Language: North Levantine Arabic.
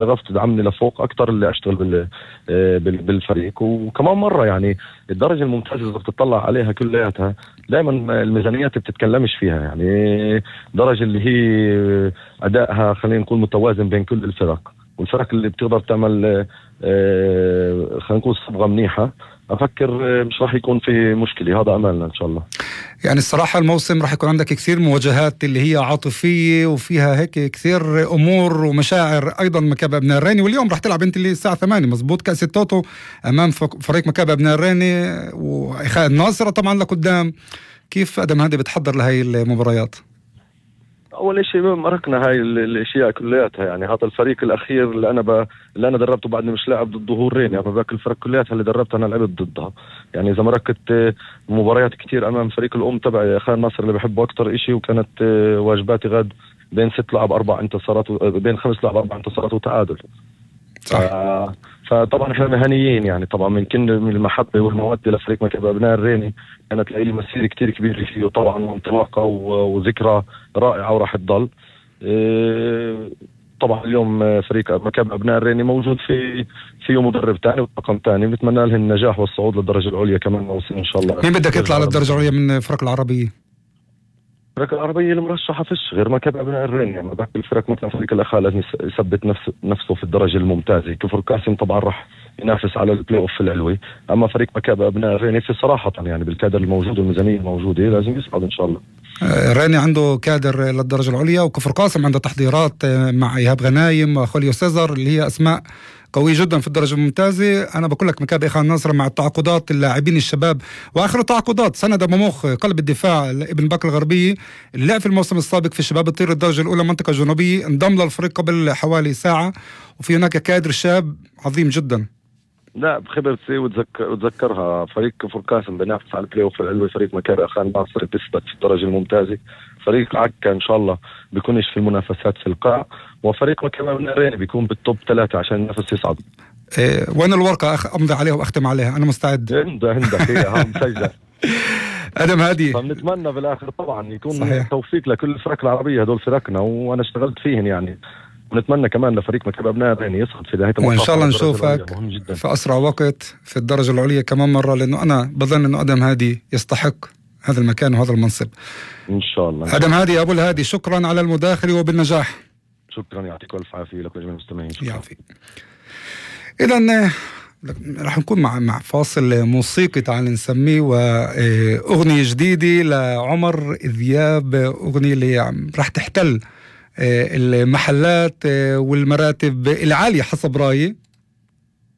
شغف تدعمني لفوق اكتر اللي اشتغل بالفريق. وكمان مرة يعني الدرجة الممتازة اذا بتطلع عليها كلياتها دائما الميزانيات بتتكلمش فيها، يعني درجة اللي هي ادائها خلينا نقول متوازن بين كل الفرق، والفرق اللي بتقدر تعمل خلينا نقول صبغة منيحة أفكر مش راح يكون في مشكلة. هذا أملنا إن شاء الله. يعني الصراحة الموسم راح يكون عندك كثير مواجهات اللي هي عاطفية وفيها هيك كثير أمور ومشاعر أيضا مكابة أبناء الريني، واليوم راح تلعب أنت اللي الساعة 8 مزبوط كأس التوتو أمام فريق مكابة أبناء الريني وإخاء الناصرة طبعا لقدام. كيف أدم هادي بتحضر لهي المباريات؟ أول شيء مركنا هاي الأشياء كلياتها، يعني هذا الفريق الأخير اللي أنا دربته بعدني مش لاعب ضد ظهورين، يعني باقي الفرق كلياتها اللي دربتها أنا لعبت ضدها. يعني إذا مركت مباريات كتير أمام فريق الأم تبعي إخاء الناصر اللي بحبه أكتر إشي، وكانت واجباتي غاد بين 6 لعب 4 انتصارات بين 5 لعب 4 انتصارات وتعادل. فطبعا احنا مهنيين يعني طبعا من المحبة والمودة لفريق مكابة أبناء الريني، كانت لي مسيرة كتير كبيرة فيه طبعا وانطلاقة وذكرى رائعة وراح تضل. طبعا اليوم فريق مكابة أبناء الريني موجود فيه مدرب تاني وطاقم تاني، بنتمنى له النجاح والصعود للدرجة العليا كمان موسم إن شاء الله. مين بدك يطلع للدرجة العليا من الفرق العربية؟ الفرق العربية المرشحة فيش غير مكابة أبناء الريني، يعني باقي الفرق مثلا فريق الأخاء لازم يثبت نفسه في الدرجة الممتازة. كفر قاسم طبعا راح ينافس على البلاي اوف العلوي، أما فريق مكابة أبناء الريني في صراحة يعني بالكادر الموجود والميزانية الموجودة لازم يصعد إن شاء الله. الريني عنده كادر للدرجة العليا، وكفر قاسم عنده تحضيرات مع إيهاب غنايم وخوليو سيزر اللي هي أسماء قوي جدا في الدرجة الممتازة. أنا بقول لك مكابة إخاء الناصر مع التعاقدات اللاعبين الشباب وآخر تعاقدات سند مموخ قلب الدفاع ابن باك الغربية اللي لعب في الموسم السابق في شباب الطير الدرجة الأولى منطقة جنوبية، انضم للفريق قبل حوالي ساعة، وفي هناك كادر شاب عظيم جدا. لا بخبرتي وتذكرها فريق كفر قاسم بينافس على البلاي اوف العلوي، فريق مكابة إخاء الناصر بيثبت في الدرجة الممتازة، فريق عكا إن شاء الله بيكونش في المنافسات في القاع، وفريق مكابة أبناء الريني بيكون بالتوب 3 عشان ينافس يصعد. وين الورقة أمضي عليها وأختم عليها؟ أنا مستعد. عندك هي مسجلة. أدم هادي فبنتمنى بالآخر طبعا يكون صحيح. توفيق لكل الفرق العربية، هدول فرقنا وأنا اشتغلت فيهن يعني، ونتمنى كمان لفريق مكابة أبناء الريني يصعد في نهاية المطاف، وإن شاء الله نشوفك في أسرع وقت في الدرجة العليا كمان مرة، لأنه أنا بظن أنه أدم هادي يستحق هذا المكان وهذا المنصب إن شاء الله. أدم هادي أبو الهادي، شكرا على المداخلة وبالنجاح. شكرا، يعطيك ألف عافية لك وجميع المستمعين. يعافيك. إذن رح نكون مع فاصل موسيقي تعال نسميه، وأغنية جديدة لعمر ذياب، أغنية اللي رح تحتل المحلات والمراتب العالية حسب رأيي.